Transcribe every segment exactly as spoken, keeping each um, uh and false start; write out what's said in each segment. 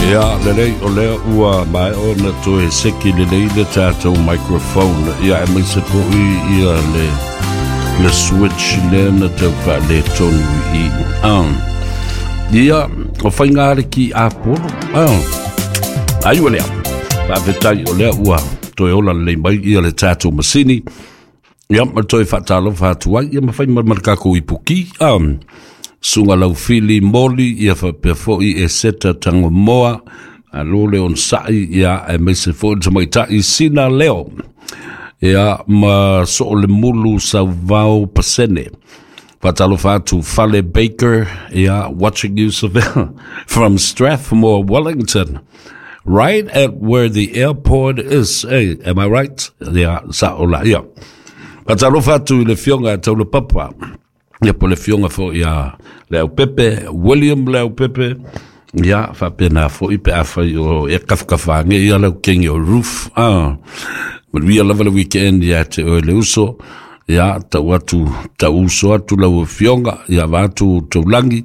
Ia, lelei o lea ua maea ona toe seki lelei le tatou microphone. Ia, aemaise foi ia le le switch lea na tau faaletonu i i. Ah. Ia, o faiga le ki Apolo. Ah. Ai ua lea. Faafetai o lea ua toe ola lelei mai ia le tatou masini. Ia, ma toe faatalofa atu ai, ia ma fai ma ma le tatou ipuki. Ah. Suga laufili moli, ia faapea foi e seta tagomoa, alo le onosai, ia aemaise foi le tamaitai sina leo. Ia ma soo le mulu sauvao pasene. Faatalofa atu Fale Baker, ia, watching you from Strathmore, Wellington. Right at where the airport is. Hey, am I right? Ia, sa ola, ia. Faatalofa atu i le fioga taula papa. Ia po le fioga foi ia Leaupepe, William Leaupepe, ia faapena foi pe afai o e kafakafa ge ia lau kengi o roof. Ah. Manuia lava le weekend ia te oe le uso. Ia tau atu, tau uso atu lau afioga, ia va atu taulangi.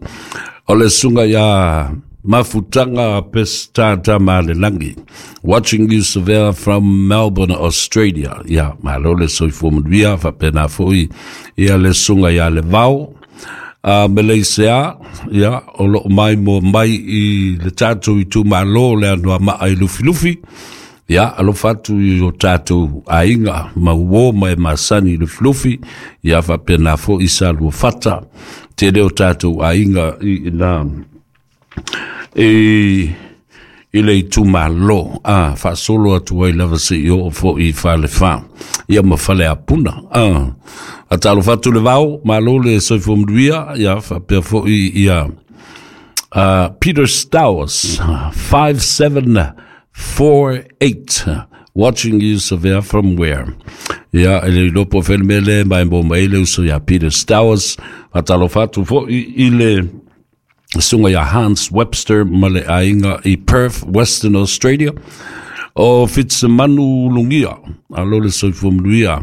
O le suga ia Mafutanga Pestata Malelangi. Watching you Savea from Melbourne, Australia. Ia, malo le soifua manuia, faapena foi ia le suga ia le vao. Uh, Malaysia, ia, o loo mai mo mai i le tatou itumalo le Anoamaa i Lufilufi. Ia, alofa atu i o tatou aiga ma uo ma e masani i Lufilufi. Ia, faapena foi sa lua fata. Tele o tatou aiga i ina i i le itumalo a faasolo atu ai lava seia oo foi i Falefa ia ma fale apuna a atalofa atu le vao malo le soifua manuia ia faapea foi ia uh, Peter Stowers five seven four eight, watching you Savea from where? Ia e le ilopo felemele mai mo mai le uso ia Peter Stowers. Faatalofa atu foi i le suga ia Hans Webster ma le aiga i Perth, Western Australia. O Fitsemanu Lungia, alo le soifua manuia.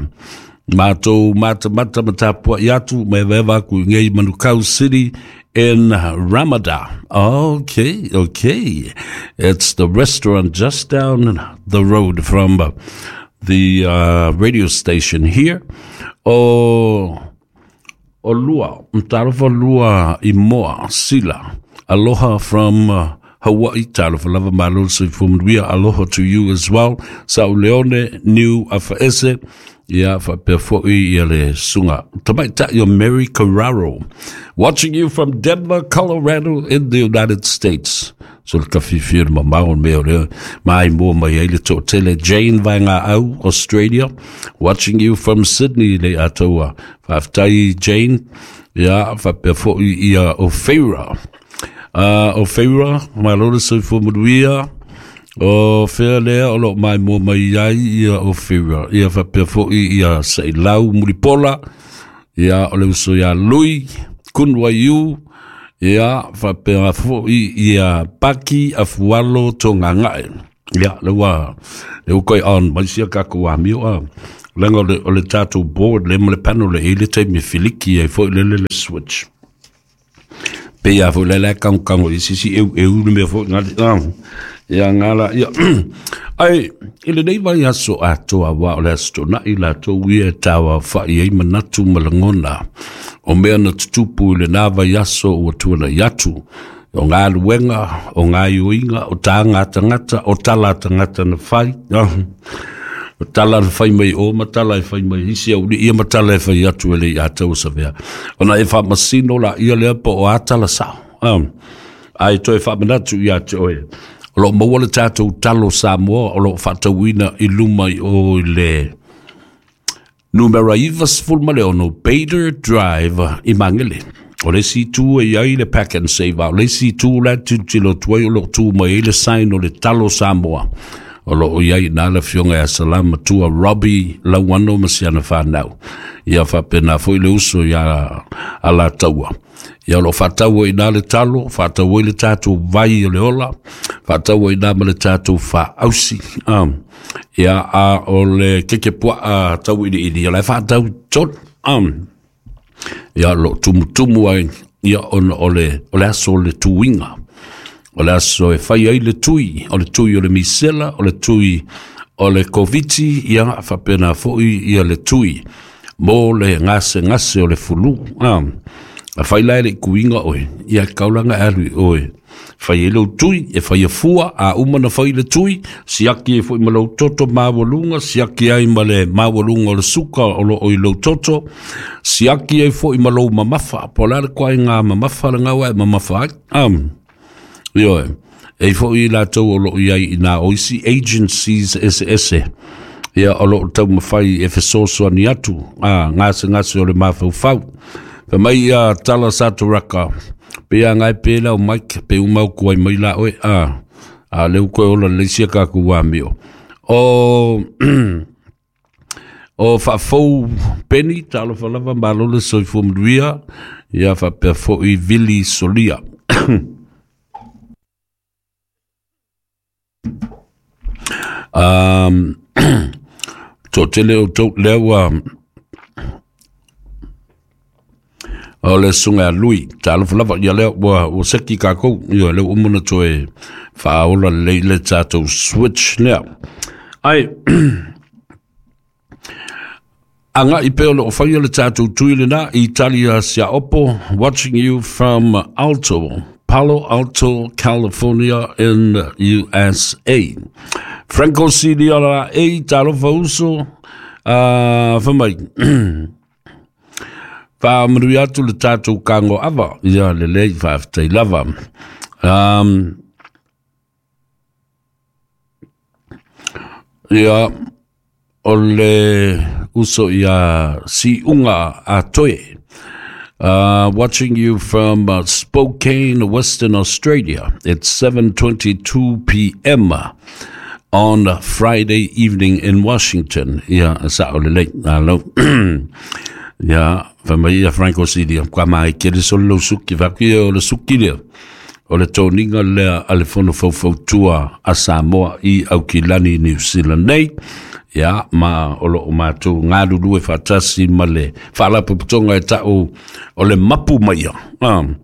Matou matamata ma tapuai atu ma evaeva aku i ngei Manukau City in Ramada. Okay, okay. It's the restaurant just down the road from uh, the uh, radio station here. O o lua, talofa lua i moa, sila. Aloha from uh, Hawaii, talofa lava malo soifua manuia, aloha to you as well. Sa Leone, New Afaese, ia faapea foi ia le suga. Tamaitai o Mary Carraro, watching you from Denver, Colorado in the United States. So le kafifia le mamao mea o lea, mai mua mai ai le toatele Jane Vainga au, Australia, watching you from Sydney le atoa. Faafetai Jane, ia faapea foi ia o Feira. Uh, o Feira, malo le soifua manuia, o fea lea o loo mai mua mai ai ia o Feira. Ia faapea foi ia Sailau Mulipola, ia o le uso ia Lui, Kunwaiu, ia faapea foi ia Paki Afualo Togagae. Ia, le ua, le ua koi on, mai sia kako amio a. Lenga o le, o le tatou board le ma le panel le i le taimi filiki ai foi le le le switch. Pe ia foi le le kang kang i sisi eu eu le mea foi ngā ah, ia ngala ia. Ai, i lenei vai aso atoa wa o le aso tona'i latou ia e taua fa'i ai manatu ma lagona o mea na tutupu i lenā vai aso ua tuana'i atu o galuega o gaioiga o taga tagata o tala tagata na fai ah. O tala na fai mai o ma tala e fai mai isi au ia ma tala e fai atu e le ia tau savea. Ona e faamasino la ia lea po o a tala sao. Um, ai toe faamanatu ia te oe. O loo maua le tatou talo Samoa o loo faatauina i luma i o i le numera iva sefulu ma le ono Bader Drive i Magele. O le isi itu e i ai le Pak'nSave. O le isi itu la tilotilo atu ai o loo tu mai ai le sign o le talo Samoa. O loo i ai na le afioga ia Salama Tua Robbie Lauano ma siana whanau. Ia faapena foi le uso ia Alataua. Ia o loo faataua i na le talo, faataua i le tatou vai o le ola, faataua i na ma le tatou faausi. Um, ia a o le keke puaa tau ili ili, o le faatau tolu. Um, ia lo tumutumu ai, ia ona o le, o le aso o le tuiga. O le aso e fai ai le tui, o le tui o le misela, o le tui o le koviti, ia faapena foi ia le tui mo le gase gase o le fulu. Ah, a fai la le kuinga oe, ia kaulanga alu oe. Fai e lou tui, e fai fua, a uma na fai le tui, siaki e foi ma lou toto mawalunga, siaki ai ma le mawalunga o le suka o lo oi lou toto, siaki ai foi ma lou mamafa, po la le kwa ngā mamafa le ngawa e mamafa ai. Um, ioe, e foi i latou o lo iai i nā oisi agencies ese ese, ia o lo tau mawhai e fesoso ani atu, a, ngase ngase o le mafaufau. Fa mai ia tala saturaka, pe a ngai pe lau Mike, pe umau kuai mai la oe, a, a leu koe ola leisia ka ku wamio. O, o whaafou Penny, talofa lava malole soifua manuia, ia whapea foi Vili Solia. Um, to tele o tau leo o le sunga a lui, talofa lava ia leo ua, ua seki kākou, ia leo umuna toe whaaola leile tātou switch lea. Ai, anga i peo le o whaia le tātou tui lena, Italia Siaopo, watching you from Alto, Palo Alto, California in U S A. Franco Silia e talofa uso, uh, whamai. Wha maru atu le tātou kango ava, ia le lei whaaftai lava. Um, ia, o le uso ia si unga a toe. Uh, watching you from uh, Spokane, Western Australia. It's seven twenty-two p.m. on Friday evening in Washington. Ia, sa o le lei. Alo. Ia, whamai ia Franco Silia, kwa mai kere solo lo suki, whaku ia o le suki lea. O le tōninga lea a le fono faufautua a Samoa i Aukilani, New Zealand nei. Ia, ma o lo o mātou ngā e whatasi ma le whaalapopotonga e tau o le mapu maia. Um,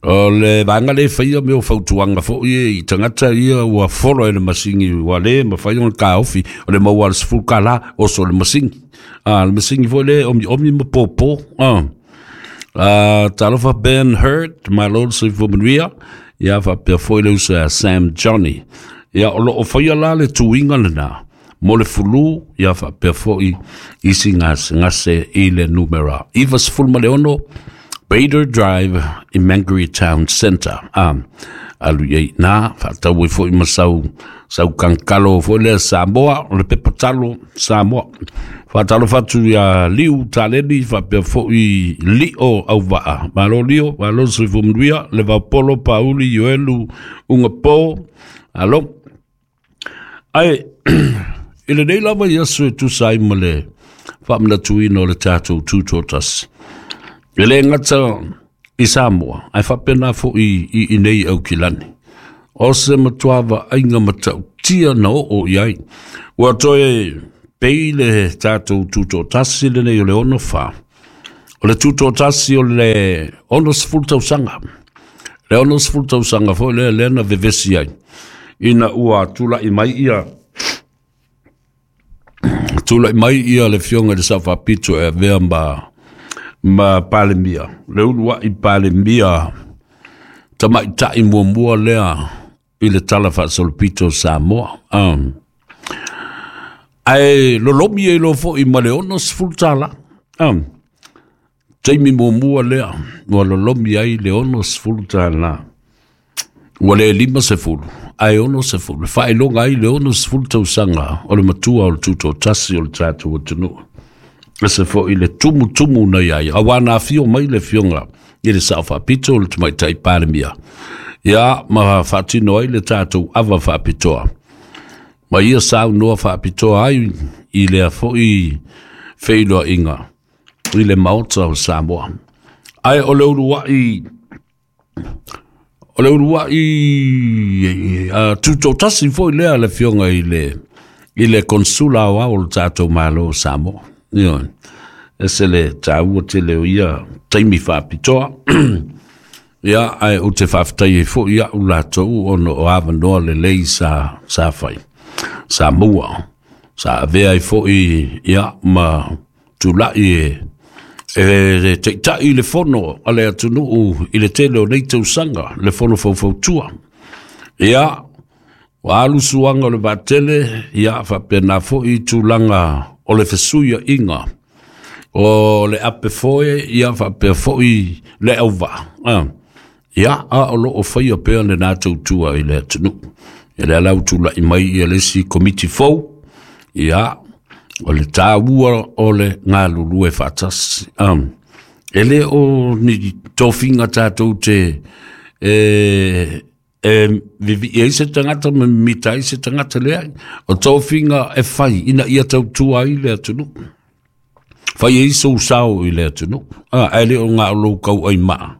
o le vanga le whaia me o fautuanga fo i tangata ia ua foro e le masingi ua le ma whaia o le kāofi o le maua le sefulu kālā oso le masingi. Ah, le masingi fo le omi omi ma pōpō. Ah. Uh, talofa Ben Hurt, my lord soifua manuia, ia whapea foi le usa Sam Johnny. Ia o lo o whaia la le tuinga lena, mo le fulu, ia whapea foi isi ngase ngase i le numera. Iwa sefulu ma le ono, Bader Drive i Mangere Town Centre. Um, alu iei nā, whaatau e foi masau, sau kankalo foi le Samoa, o le pepatalo Samoa. Whaatalo whatu ia liu taleni, whapea foi lio au waa. Malo lio, malo soifua manuia, le vaupolo, pauli, ioelu, unga pō. Alo. Ai, i le nei lava ia sui tusa ai ma le whaamanatuina o le tātou tūtōtasi. E le ngata i Samoa, ai whapena fo i, i, i nei au kilani. O se matuava ainga matau tia na o o iai. Ua toe pei le tātou tūtōtasi le nei o le ono wha. O le tūtōtasi o le ono sefulu tausanga. Le ono sefulu tausanga fo le lena vevesi ai. Ina ua tula i mai ia. Tula i mai ia le fionga le sawhapito e vea ma ma palemia. Le ulua i palemia tamai tai muamua lea i le tala whaasolopito Samoa. Um, ai lolomi e lo fo i ma le ono sefulu tala. Um, taimi muamua lea ua lolomi ai le ono sefulu tala. Ua le lima sefulu. Ai ono sefulu. Whaelonga ai le ono sefulu tausanga o le matua o le tūtōtasi o le tātou atunuu. Ese fo i le tumu tumu na iai. A wana fio mai le fionga i le sao whapito o le tamaitai palemia. Ia ma whaatino ai le tātou awa whapitoa. Ma ia sao noa whapitoa ai i lea fo i wheiloa inga i le maota o Samoa. Ai o le urua i o le urua i uh, tūtōtasi fo i lea le fionga i le i le konsula o au o le tātou malo o Samoa. Ia, ese le tāua te leo ia taimi whapitoa. Ia ae ou te faafetai ai foi iaʻu latou ona o avanoa lelei sa sa fai sa maua sa avea ai foʻi ia ma tulaʻi e e taʻitaʻi le fono a le atunuu i le tele o nei tausaga le fono faufautua. Ia ua alu suaga o le vaatele ia faapena foʻi tulaga o le fesuiaʻiga o le ape foe ia faapea foʻi le auvaa. Ah. Ia a o loo faia pea lenā tautua i le atunuu. E le ala tulaʻi mai ia le isi komiti fou, ia o le tāua o le galulue faatasi. Um, e le o ni tofiga tatou te e, e vivii ai se tagata ma mimita ai se tagata leai. O tofiga e fai ina ia tautua ai le atunuu. Fai ai sou sao i le atunuu. Ah, ae le o ngā o lou kau ai maa.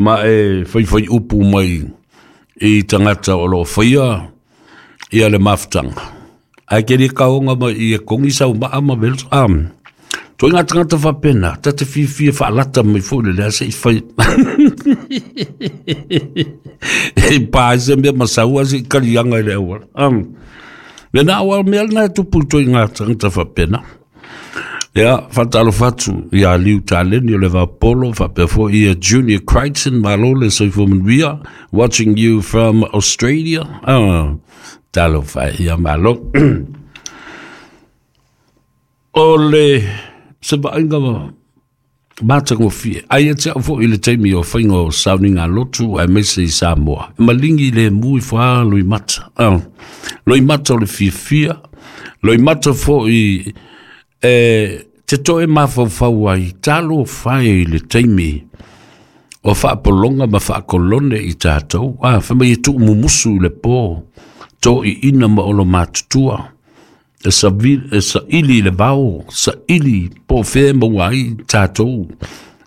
Ma e fai fai upu mai i tagata o loo faia ia le mafutaga. Ae ke le kaoga mai i e kongi sau maa ma velo. Um, toi ngā tagata faapena, ta te fiafia faalata mai foi le lea seʻi fai. E pā ai se mea masaua seʻi kaliaga i le auala. Um, lena ua mea lena e tupu i toi ngā tagata faapena. Ia, faatalofa atu ia Liu Taleni o le Vapolo, faapea foi ia Junior Crichton, malo le soifua manuia, watching you from Australia. Ah, talofa ia malo. O le se vaaiga matagofie. Ai e te au foi i le taimi o faiga o sauniga lotu aemaise i Samoa. E maligi le mu i foā loimata. Ah, loimata o le fiafia, loimata foi e te toe mafaufau ai talofa e i le taimi o faapologa ma faakolone i tatou. Ah, fai mai e tuumumusu i le pō, toʻiʻina ma olo matutua. E savi- e saʻili i le vao, saʻili po o fea e maua ai tatou.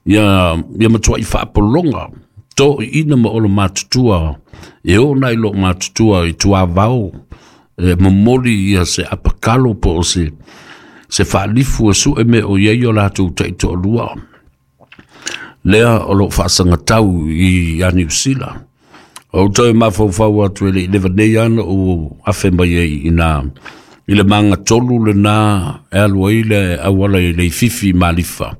Ia, ia matuaʻi faapologa, toʻiʻina ma olo matutua, e oo nai loo matutua i tuavao, e momoli ia se apakalo po o se, se faalifu e sue me o iai o latou taitoalua. Lea o loo faasagatau i ia Niusila. O toe mafaufau atu e leʻi leva nei ana o afe mai ai ina i le magatolu lenā e alu ai le auala i le ififi malifa.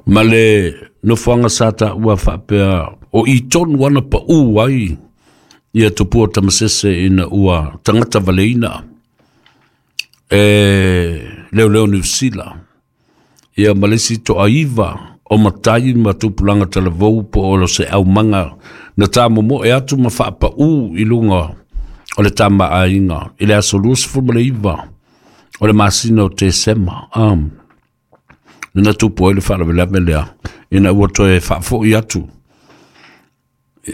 Ma le nofoaga sa taua faapea o i tonu ana paʻū ai ia tupua tamasese ina ua tagata valeina e leoleo Niusila. Ia ma le isi toaiva o matai ma tupulaga talavou po o se aumaga na tamomoe atu ma faapaʻū i luga o le tamaaiga i le aso luasefulu ma le iva o le masina o Tesema. Um, lena tupu ai le faalavelave lea ina ua toe faafoʻi atu.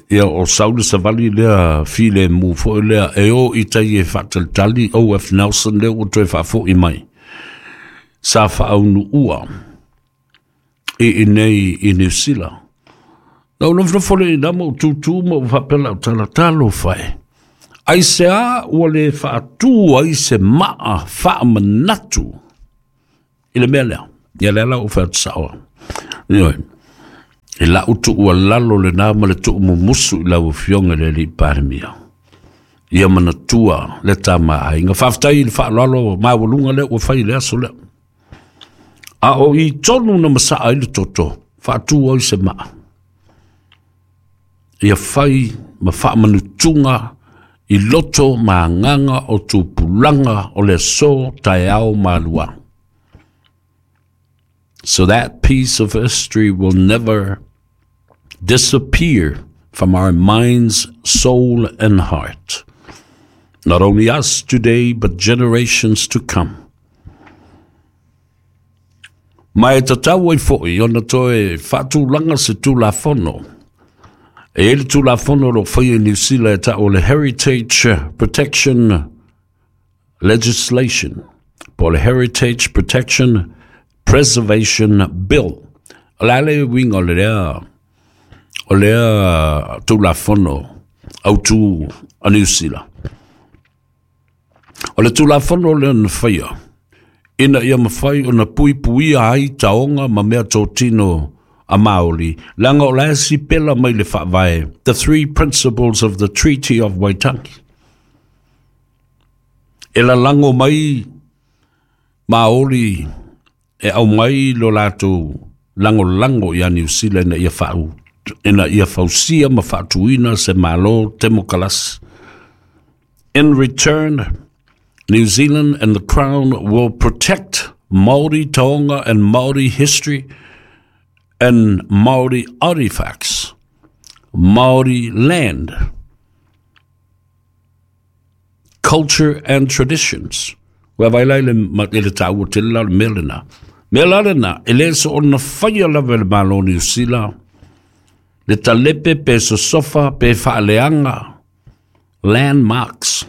Ia o sau le savali lea file mu foi lea e o i tai e faatalitali O F Nelson lea ua toe faafoʻi mai. Sa faaunuua i inei i Niusila. Na ou nofonofo le ina ma ou tūtū ma ou faapea lau tala talofa e. Ai se a ua le faatū ai se maa faamanatu i le mea lea. Ia lea la ou fai atu saoa. Ioe. E lau tuualalo lenā ma le tuumumusu i lau afioga i le alii Palemia. Ia manatua le tamaaiga. Faafetai i le faaaloalo maualuga lea ua fai i le aso lea. A o i tonu na masaa ai le toto, faatū ai se maa. Ia fai ma faamanutuga i loto ma agaga o tupulaga o le aso taeao malua. So that piece of history will never disappear from our minds, soul, and heart. Not only us today, but generations to come. Ma e tatau ai foʻi ona toe faatulaga se tulafono. E ai le tulafono o loo faia i Niusila e taʻu o le Heritage Protection Legislation, po o le Heritage Protection Preservation Bill. O le a le uiga o le lea o lea tulafono autū a Niusila. O le tulafono lea na faia ina ia mafai ona puipuia ai taoga ma mea totino a Māori, langa o la si pela mai le whaavae, the three principles of the Treaty of Waitangi. E la lango mai Māori e au mai lo lātou lango lango ia New Zealand ia whau, ina ia fausia ma whaatuina se malo temokalasi. In return, New Zealand and the Crown will protect Māori taonga and Māori history and Māori artifacts, Māori land, culture and traditions. Ua vailai le le tāua tele la le mea lena. Mea la lena, e le so ona whaia lava le malo New Zealand, le talepe pe sosofa pe whaaleanga, landmarks.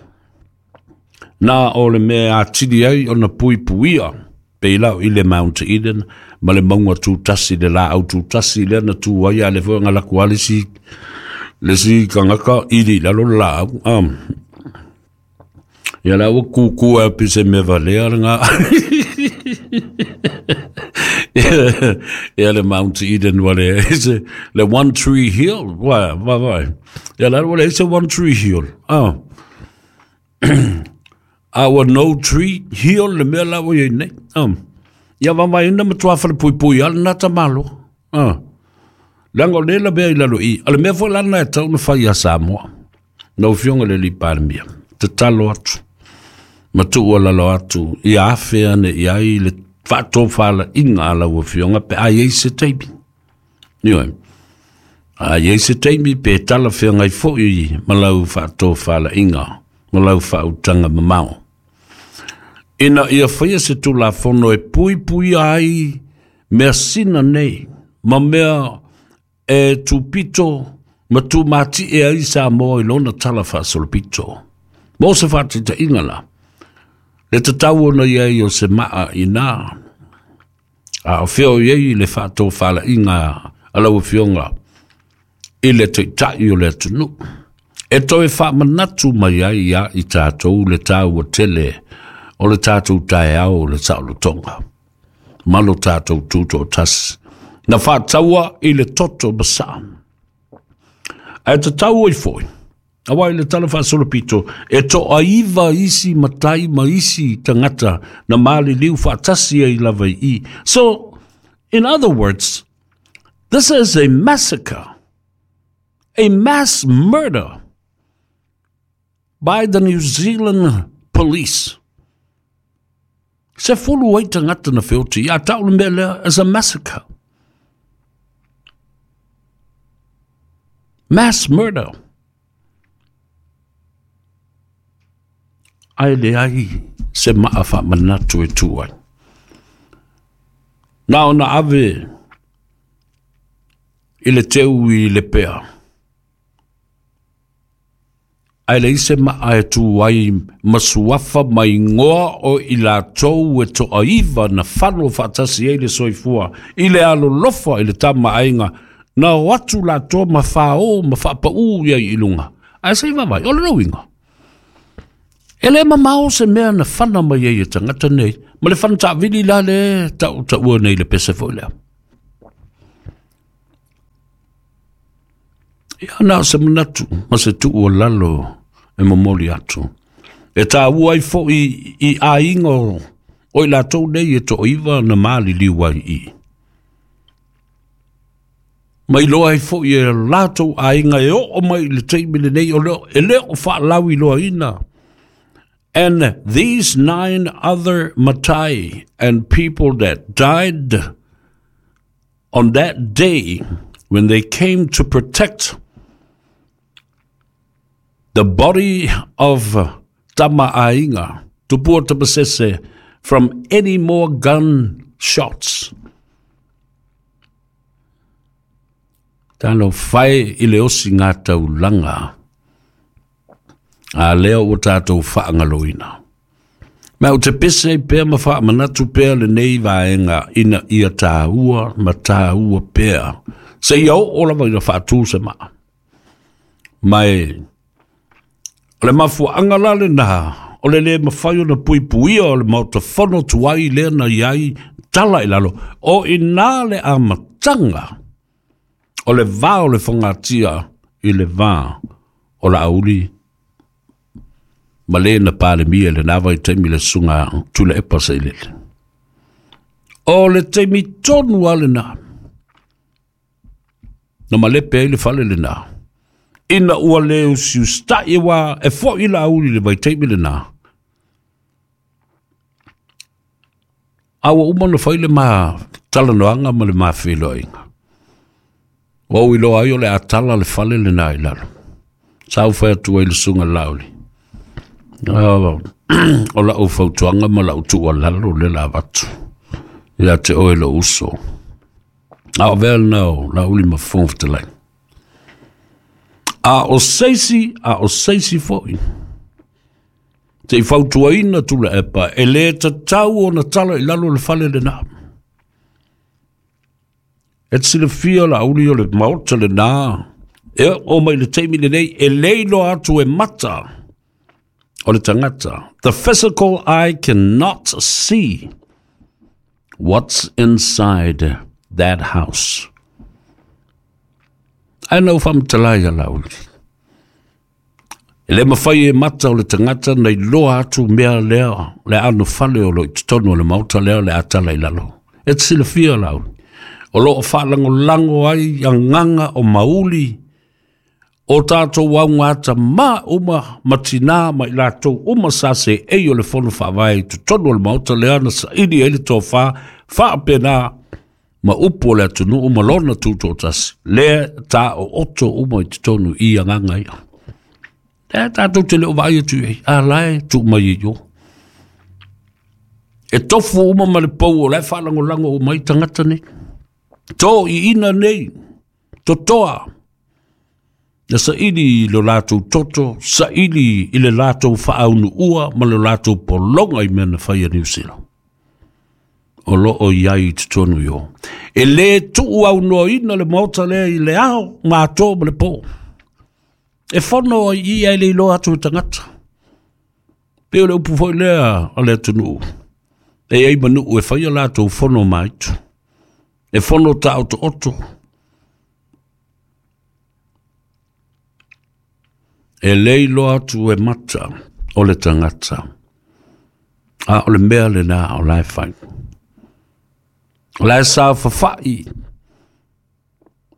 Nā o le mea atiri ai ona pui puia, pe i lau i le Mount Eden, ma le maunga tūtasi, le la au tūtasi, le na tū ai a le fua ngā laku ale si, le si kangaka iri lalo la au. Um, ia la ua kukua e pise me valea ngā. Ia le Mount Eden wale, ese, le One Tree Hill, wa, wa, wa. Ia la wale, ese One Tree Hill. Ah. Our no tree hill le mea la ua iei nei. Um. Ia wamai ina matua whale pui pui ala nata malo. Ah. Langa o le la mea i lalo i. Ale mea fo lana e tau na whai a Samoa. Na ufionga le li parmia. Te talo atu. Matua lalo atu. Ia afe ane i ai le whaatofala inga ala ufionga pe ai ei se teipi. Nioi. Ai ei se teipi pe tala whiangai fo i malau whaatofala inga. Malau whautanga mamao. Ina ia whaia se tūla whono e pui pui ai mea sina nei, ma mea e tūpito, ma tūmati e ai Samoa i lona tala whaasolopito. Mo se whaatita ingala, le tatau ona iai o se maa i nā, a o whio iai le whaatō whala inga a lau whionga i le teitai o le atunu. E toe whaamanatu mai ai ia i tātou le tāua tele o le tātou taeao o le saolotonga. Malo tātou tūto tasi. Na whaataua i le toto masa. Ae te tau i foi. Awa i le tala whaasolopito, e to aiva isi matai ma isi tangata na mali liu whaatasi ai lava i. So, in other words, this is a massacre, a mass murder by the New Zealand police. Se fulu ai tangata na whioti, a tau le mea lea as a massacre. Mass murder. Ai le ai se maa whaamanatu e tuai. Nā ona ave i le teu i le pea. Ai le ise maa e tuai masuafa mai ngoa o i la tou e toa iwa na whalo whaatasi e le soifua. I le alolofa i le tama ainga na o atu la toa ma whao ma whaapau ia i lunga. Ai se i wawai, o le rauinga. E le mamao se mea na whana mai e tangata nei. Ma le whana taavili la le tau taua nei le pese foi lea. Ia nā se manatu, ma se tuu o lalo e momoli atu. E tā ua i fo i, i ainga o, o i lātou nei e to iwa na maali liu ai i. Mai loa i fo i e lātou ainga e o mai le teimile nei o leo, e leo o whaalawi loa ina. And these nine other matai and people that died on that day when they came to protect the body of Tama Ainga, Tupua Tamasese, from any more gun shots. Tano whai i le osi ngā taulanga a leo o tātou whaangaloina. Mea o te pese pea ma whaamanatu pea le nei vaenga ina ia tāua ma tāua pea. Se ia o lava ina whaatū se maa. Mai, o le mafuaanga la le nā, o le le mawhai o na pui puia o le mauta whono tuai le na iai tala i lalo. O ina le amatanga O le va o le fogatia i le va o Laauli ma le na Palemia le nava i taimi le suga Tuilaepa Sailele. O le taimi tonu a lena na malepe ai le fale lena. Ina ua le usiusitai wa e fo'i Laauli le vaitaimi lena. A ua uma na fai le ma talanoaga ma le mafeiloaiga. Ua ou iloa ai o le atala le fale lena i lalo. Sa ou fai atu ai le susuga Laauli. O lau fautuaga ma lau tuualalo le la avatu ia te oe lou uso. A o vea lena o Laauli ma Fofoga Fetalai. A o seisi, a o seisi fo'i. Te i fautuaina Tuilaepa, e le tatau ona tala i lalo le fale lena. E te silafia Laauli o le maota lena, e o mai le taimi lenei, e le iloa atu e mata o le tagata. The physical eye cannot see what's inside that house. Ae na ou faamatala ia Laauli. E le mafai e mata o le tagata na iloa atu mea lea, le ano fale o lo i totonu o le maota lea o le atala i lalo. E te silafia Laauli. O loo faalagolago ai agaga o mauli o tatou augata ma uma ma tinā ma i latou uma sa seei o le fono faavae i totonu o le maota lea na saili ai le tofā faapena ma upu o le atunuu ma lona tutoatasi. Lea ta o oto uma i totonu i agaga ia. Lea tatou te le o vaai atu i ai, a lae tuu mai ai o. E tofu uma ma le pou o lae faalagolago uma ai tagata nei. To i ina nei, totoa, na saili i lo latou toto, saili i le latou faaunuua ma le latou pologa i mea na fai a Niu Sila. O loo i ai i totonu i o. E le tuu aunoaina le maota lea i le ao, mato ma le po. E fono ai ia e le iloa atu e tagata. Pe o le upu foi lea o le atunuu. E ai manuu e fai a latou fono maitu. E fono ta oto oto. E le iloa atu e mata o le tagata. A o le mea lena o lae fai. O lae sa fafai.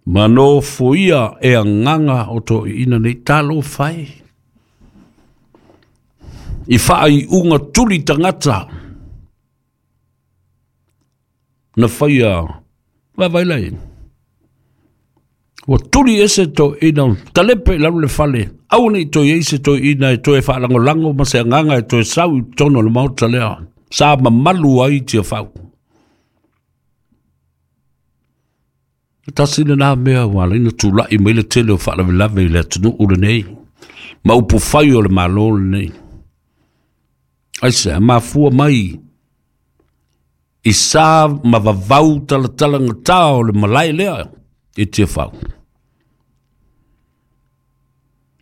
Ma nofoia e agaga o toeaiina nei talo fai. I faaiuga tuli tagata. Na faia vaavaai lai. Ua tuli ese toeaiina, talepe i lalo le fale. Aua nei toe ai se toeaiina e toe faalagolago ma se agaga e toe sau i totonu o le maota lea. Sa mamalu ai Tiafau. Tasi lena mea ua ala ai na tulai mai le tele o faalavelave i le atunuu lenei. Ma upu fai o le Malo lenei. Aisea, mafua mai i sa ma vavau talatalagata o le malae lea i Tiafau.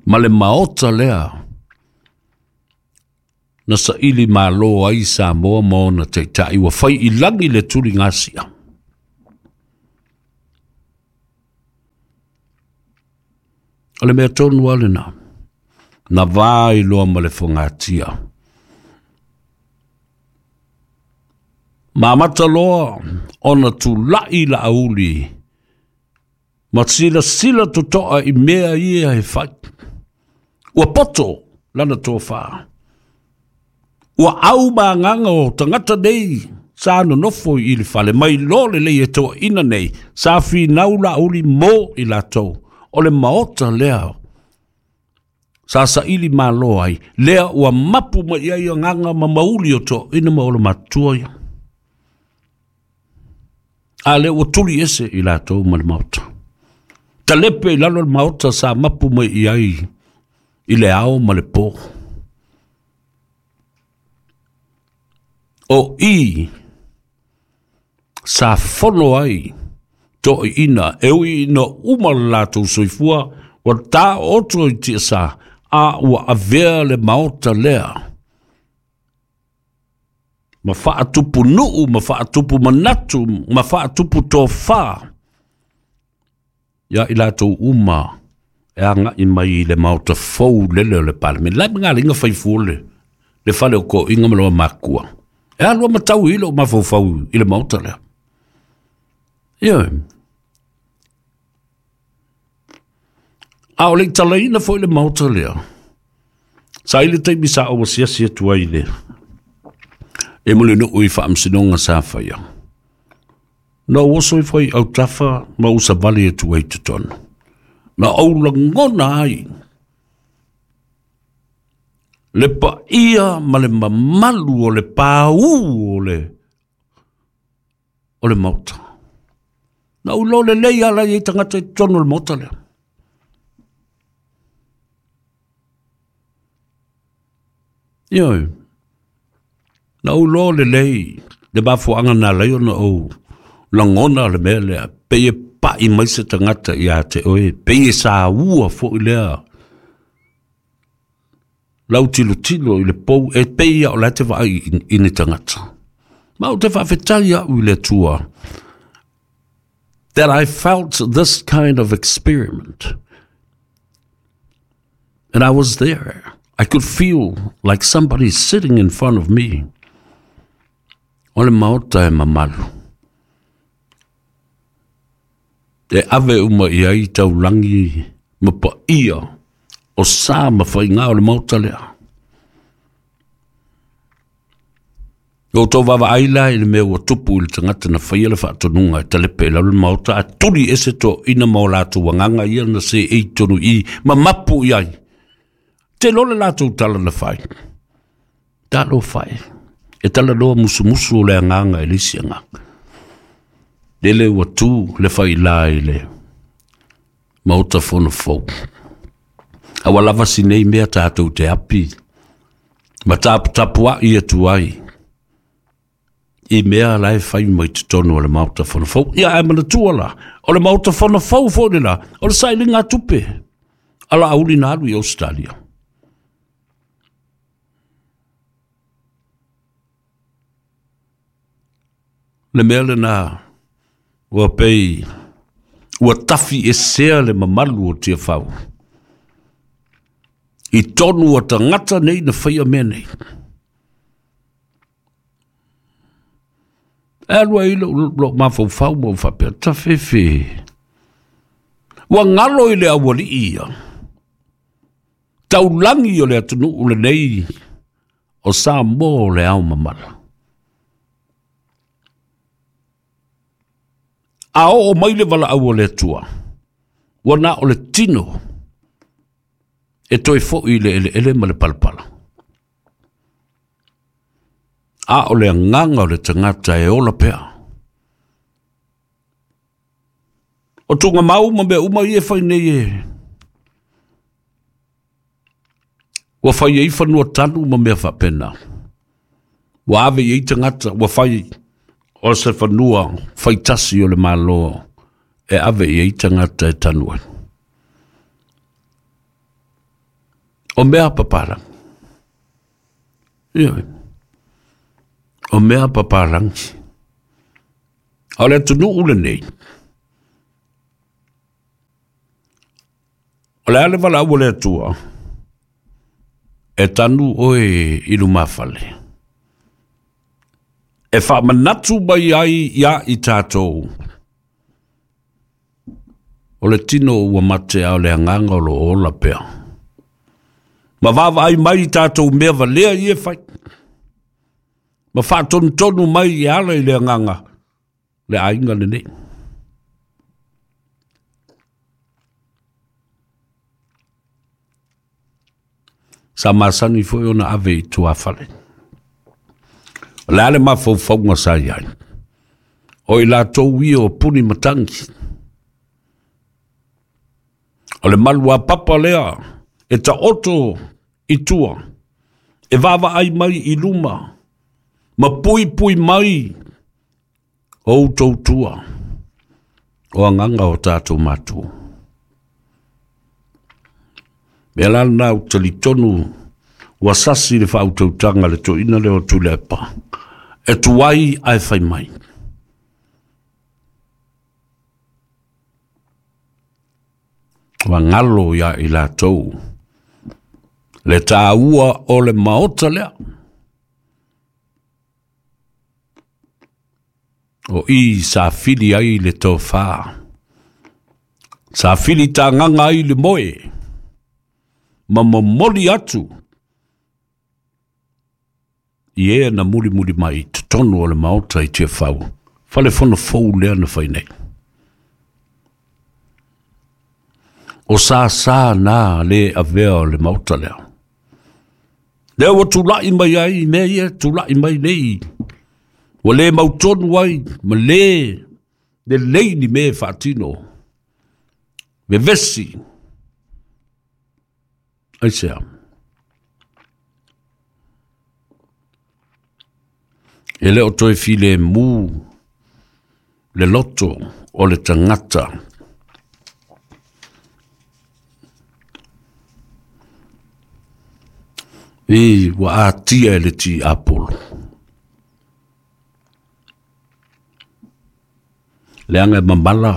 Ma le maota lea na saili malo ai Samoa ma ona taitai ua fai i lagi le tuligasia. O le mea tonu a lena, na va iloa ma le fogatia. Ma amata loa ona tulai Laauli ma silasila totoa i mea ia e fai. Ua poto lana tofā. Ua au ma agaga o tagata nei sa nonofo i le fale mai lo lelei e toeaiina nei sa finau Laauli mo i latou. O le maota lea sa saili malo ai lea ua mapu mai ai agaga ma mauli o toeaiina ma olomatua ia. A lea ua tuli ese i latou ma le maota. Talepe i lalo le maota sa mapu mai i ai i le ao ma le po. O i sa fono ai toeaiina e ui ina uma le latou soifua ua taoto i tiasa a ua avea le maota lea. Ma faatupu nuu, ma faatupu manatu, ma faatupu tofā. Ia i latou uma e aga'i mai i le maota fou lele o le Palemene. Lae magalinga faifua le le fale o ko'iga ma lona makua. E alu matau i lou mafaufau i le maota lea. Ioe. A o le i talaina foi le maota lea, sa i le taimi sa ou asiasi atu ai i le e Mulinuu i faamasinoga sa faia. Na ou oso ifo i autafa ma ou savali atu ai i totonu. Na ou lagona ai le paia ma le mamalu o le paū o le o le maota. Na ou iloa lelei lava la e i ai tagata i totonu o le maota lea. Ioe, na ou iloa lelei le mafuaaga na ala ai ona ou lagona le mea lea, pei e pa'i mai se tagata ia te oe, pei e saua foi lea lau tilotilo i le pou, e pei lava o la e te vaai i ni tagata. Ma ou te faafetai au i le Atua that I felt this kind of experiment. And I was there. I could feel like somebody sitting in front of me. O le maota e mamalu. E ave uma i ai taulagi ma paia o sa ma faiga o le maota lea. Ua outou vaavaai la i le mea ua tupu i le tagata na faia le faatonuga e talepe i lalo le maota, a tuli ese toeaiina ma o latou agaga ia na seei tonu i i ma mapu i ai. Te iloa le latou tala na fai. Talofa e. E talanoa musumusu o le agaga i le isi agaga. Lele ua tu le failā i le Maota Fono fou. A ua lava si nei mea tatou te api ma taputapua'i atu ai i mea la e fai mai totonu o le Maota Fono fou. Ia ae manatua la, o le Maota Fono fou foi le la, o le sailiga tupe a Laauli na alu i Ausetalia. Le mea lena ua pei ua tafi esea le mamalu o Tiafau i tonu o tagata nei na faia mea nei. E alu ai lou, lou mafaufau ma ou faapea, tafefe. Ua galo i le aualii ia, taulagi o le atunuu lenei o Samoa o le ao mamala. A oo mai le valaau o le Atua, ua na o le tino e toe foi i le eleele ma le palapala. A o le agaga o le tagata e ola pea. O tugamau ma mea uma ia e fai nei e ua fai ai fanua tanu ma mea faapena. Ua ave i ai tagata, ua fai o se fanua faitasi o le Malo e ave i ai tagata e tanu ai. O mea papalangi. Ioe. O mea papalangi. A o le atunuu lenei, o le a le valaau a le Atua, e tanu oe i lumafale, e faamanatu mai ai iā i tatou, o le tino ua mate a o le agaga o lo o ola pea. Ma vaavaai mai i tatou mea valea ia e fai, ma faatonutonu mai e ala i le agaga le aiga lenei. Sa masani foi ona ave i tuafale. O le a le mafaufauga sa i ai? O i latou ia o puni matangi. O le malu a papa lea e taoto i tua, e vaavaai mai i luma, ma puipui mai o outou tua, o agaga o tatou matua. Mea la lena ou talitonu ua sasi le faautautaga a le toeaina lea o Tuilaepa, e tuai ae fai mai. Ua galo iā i latou le tāua o le maota lea. O i sa fili ai le tofā, sa fili tāgaga ai le moe, ma momoli atu i e na mulimuli mai i totonu o le maota i Tiafau, fale fono fou lea na fai nei. O sa sa na le avea o le maota lea. Lea ua tula'i mai ai mea ia tula'i mai nei. Ua le mautonu ai ma le lelei ni mea e faatino. Vevesi. Aisea? E le o toe filemu le loto o le tagata. I ua atia e le tiapolo. Leaga e mamala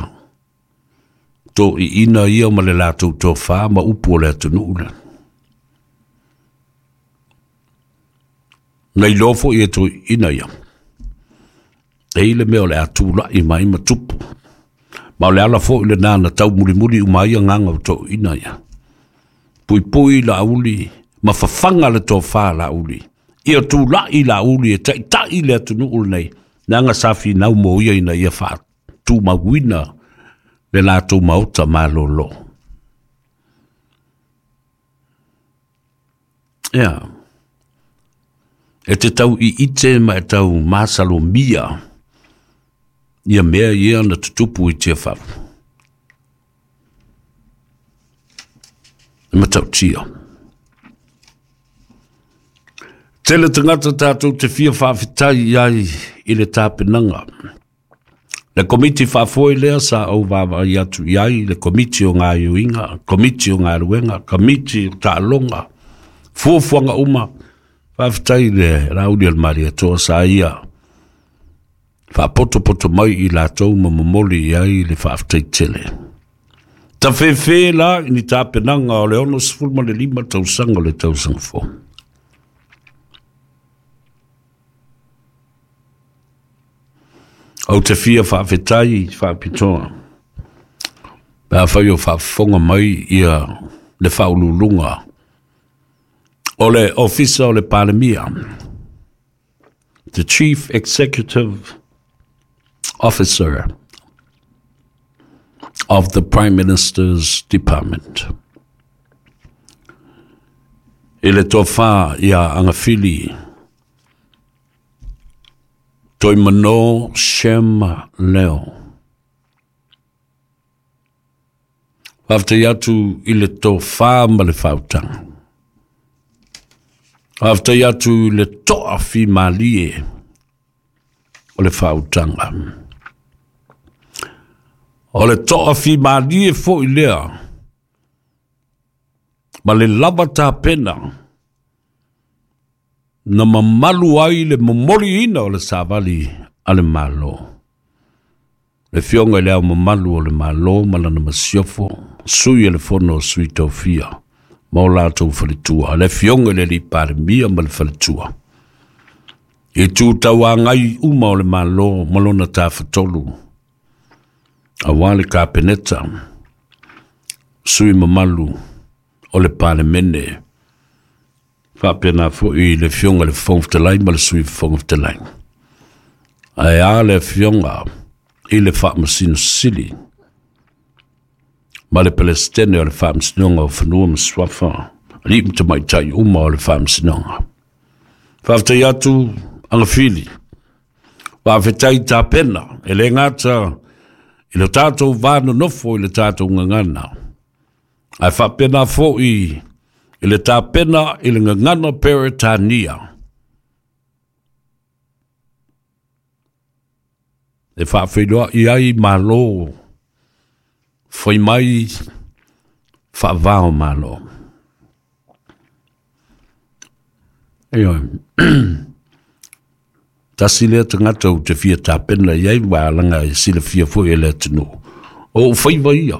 to'i'ina ia ma le latou tofā ma upu o le atunuu le. Na iloa fo'i e to'i'ina ia. E i le mea o le a tula'i mai ma tupu. Ma o le ala fo'i lenā na taumulimuli uma ai agaga o to'i'ina ia. Puipui Laauli ma fafaga le tofā Laauli. Ia tula'i Laauli e ta'ita'i le atunuu lenei. Leaga sa finau mo ia ina ia faatumauina le latou maota malōlō. Ia. E te tau i'ite ma e tau masalomia ia mea ia na tutupu i Tiafau. E matautia. Tele tagata tātou te fia faafetai i ai i le tapenaga. Le komiti faafoe lea sa ou vaavaai atu i ai, le komiti o gaioiga, komiti o galuega, komiti o taaloga, fuafuaga uma. Faafetai le Laauli o le Malietoa sa ia faapotopoto mai i latou ma momoli i ai le faafetai tele. Tafefe la i ni tapenaga o le ono sefulu ma le lima tausaga o le tausaga fou. Ou te fia faafetai faapitoa pe afai o faafofoga mai ia le faauluuluga o le Ofisa o le Palemia, the Chief Executive Officer of the Prime Minister's Department. I le tofa ia Agafili Toimano Shem Leo. Faafetai atu i le tofā ma le faautaga. Faafetai atu i le toafimalie o le faautaga. O le toafimalie fo'i lea ma le lava tapena na mamalu ai le momoliina o le savali a le Malo. Le Afioga i le Ao Mamalu o le Malo ma lana masiofo, sui e le fono o Sui Tofia ma o latou faletua, le Afioga i le Alii Palemia ma le faletua. I tu tauagai uma o le Malo ma lona tafatolu, auā le Kapeneta, sui mamalu o le Palemene, faapena fo'i le Afioga i le Fofoga Fetalai ma le Sui Fofoga Fetalai. Ae a le Afioga i le Faamasino Sili ma le Pelesitene o le Faamasinoga o Fanua ma Suafa, alii ma tamaitai uma o le Faamasinoga. Faafetai atu Agafili, faafetai tapena, e le gata i le tatou va nonofo i le tatou gagana, ae faapena fo'i i le tapena i le gagana Peretania. E faafeiloa'i ai Malo, fai mai faavao Malo. Ioe. Tasi lea tagata ou te fia tapena i ai ua alaga e silafia fo'i e le atunuu. O ou faiva ia.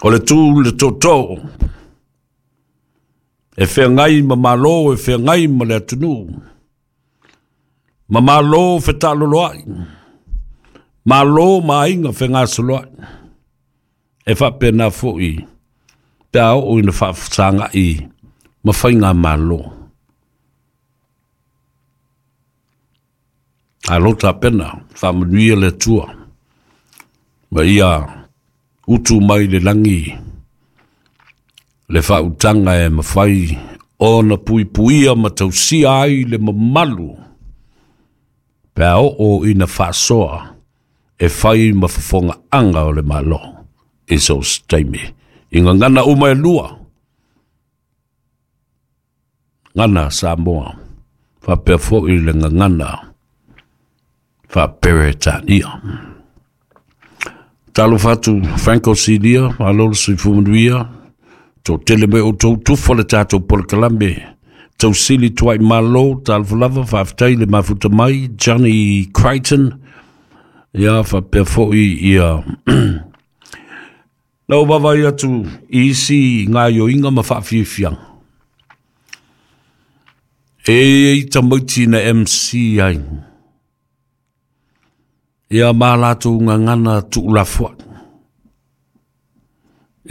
O le tu le toto e whengai ma malo, e whengai ma le atunu. Ma malo whetaloloai. Malo ma inga whengasoloai. E whapena foi pe a o ina whaafsanga i ma whainga malo. A lota pena, whaamanuia le tua. Ma ia utu mai le langi le whautanga e mawhai ona puipuia ma tausia ai le mamalu. Pe a o ina whaasoa e whai ma whafonga anga o le malo. I so steimi. I ngana uma e lua. Ngana Samoa. Whapea foi le ngana. Whaperetania. Talo fatu Franco Silia, alolo suifumanuia. Tō tele me o tō tufa le tātou polokalame. Tau sili tuai malo, talofalava, whaaftai le mafuta mai, Johnny Crichton. Ia, whapea foi ia. Lau wawai atu isi ngā yoinga ma whaafiafianga. E i tamaiti na M C ai. Ia mā lātou ngā ngana tuulafua.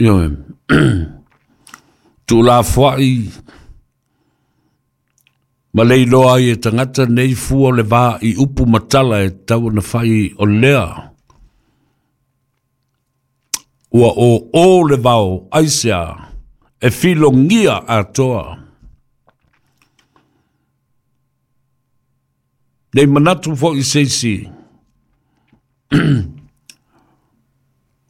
Ia, tuulafua i ma leiloa i e tangata nei fua le vā i upu matala e tau na whai o lea. Ua o o le vao aisea e filongia atoa. Nei manatu fo i seisi.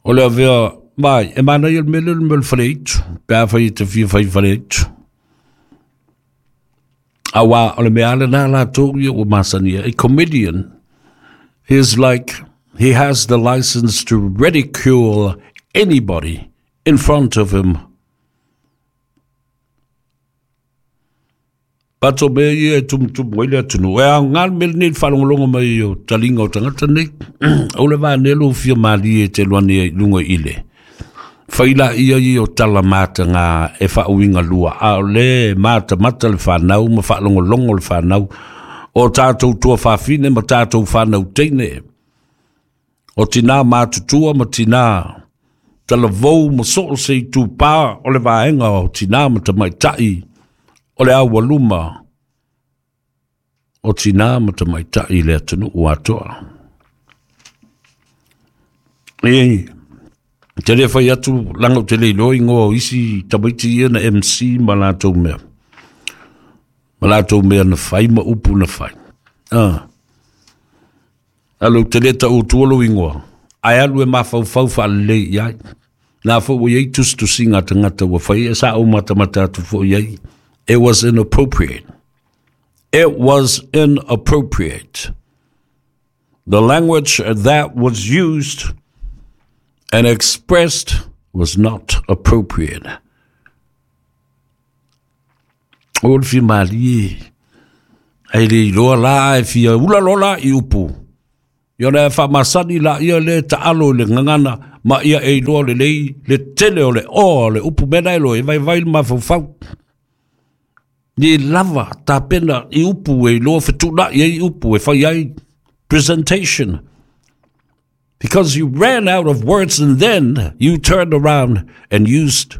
O le avea mai, e mana i el mele le mele whareitu. Pea whai te fia whai whareitu. Awa o le mea ale nā la tō ia o masania. A comedian is like, he has the license to ridicule anybody in front of him. Pato mea ia e tumutumu ai le atunu. E a ngā mele nei whalongolongo mai o talinga o tangata nei. O le vānelo fia malie e te luane ai lunga ile. Whaila ia i o tala mata ngā e whaauinga lua. A o le mata mata le whanau, ma whaalongolongo le whanau. O tātou tua whawhine ma tātou whanau teine. O tina mātutua ma tina talavou ma soo se i tūpā o le vaenga o tina ma tamaitai o le awaluma o tina ma tamaitai le atunu atoa. E, te le whai atu langa o te leiloa ingoa o isi tamaiti ia na M C ma lātou mea. Ma lātou mea na whai ma upu na whai. Ah. Alo te leta o tuolo ingoa. Ai alu e mawhauwhau whaalelei iai. Nā fo iai tustusi ngā tangata ua whai e sa o matamata atu fo iai. It was inappropriate. It was inappropriate. The language that was used and expressed was not appropriate. O le fi malie. Ai le iloa la e fia ula lola i upu. Ia le whamasani la ia le taalo le ngangana ma ia e iloa le lei le tele o le o le upu mena e lo e vai vai mawhauwhau. Ni lava tā pena i upu e iloa whetuna i e upu e whai ai presentation. Because you ran out of words and then you turned around and used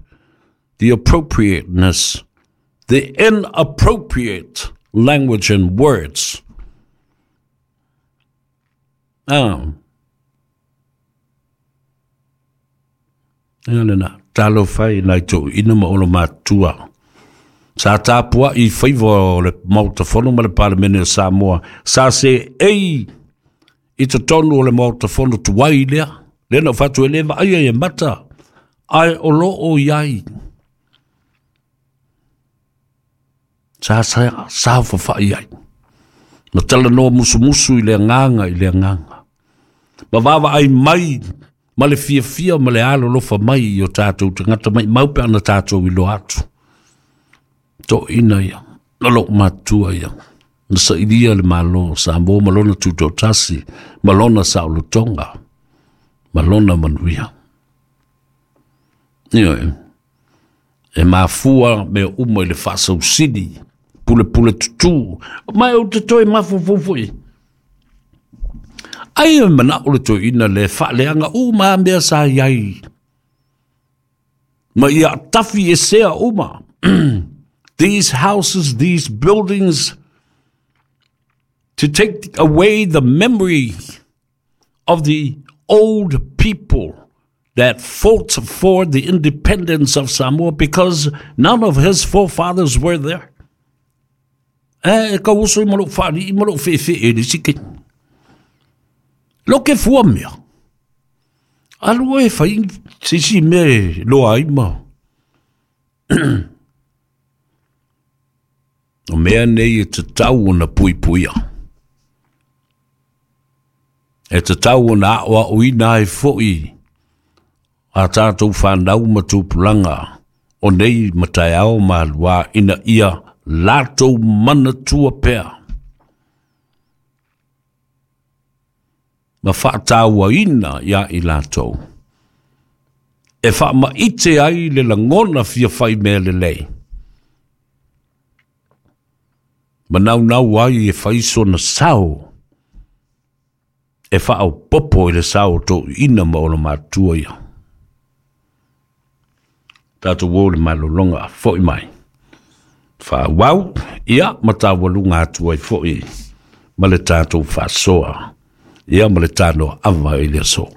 the appropriateness, the inappropriate language and words. Ah. Ia lena, talo whai nai tō ina ma olo mātua. Sa tāpua i whaiwa o le mautafono ma le Palemene o Samoa. Sa se ei i te tonu o le mautafono tuai lea. Lena o whatu e lewa ai e mata. Ai o lo o iai. Sa sa sa whawhai ai. Ma tala noa musumusu i le nganga i le nganga. Ma wawa ai mai, ma le fia fia ma le alo lofa mai i o tātou te ngata mai maupe ana tātou i lo atu. Tō ina ia, na lo matua ia. Na sa iria le malo, sa mō malona tūtōtasi, malona sa olotonga, malona manuia. Ioe. E mafua mea uma i le faasausili, pulepule tutū, ma e ou te toe mafaufau foi. Ai e manao le toeaina le faaleaga uma lava mea sa i ai, ma ia tafi esea uma. These houses, these buildings, to take away the memory of the old people that fought for the independence of Samoa, because none of his forefathers were there. E ka uso i ma lou faalii ma lou feefee i le isi keni. Lo ke fua mea. Alu e fai se isi mea e loa ai ma. O mea nei e tatau ona puipuia. E tatau ona aoaoina ai foi a tātou whanau ma tupulaga o nei mataeao ma alua ina ia latou manatua pea. Ma faatauaina ia i latou. E faamaite ai le lagona fia fai mea lelei. Manaunau ai e fai sona sao. E faaopopo i le sao o toeaiina ma ona matua ia. Tatou o le malologa foi mai. Faaauau, ia ma taualuga atu ai foi ma le tatou faasoa. Ia ma le tanoa ava i le aso.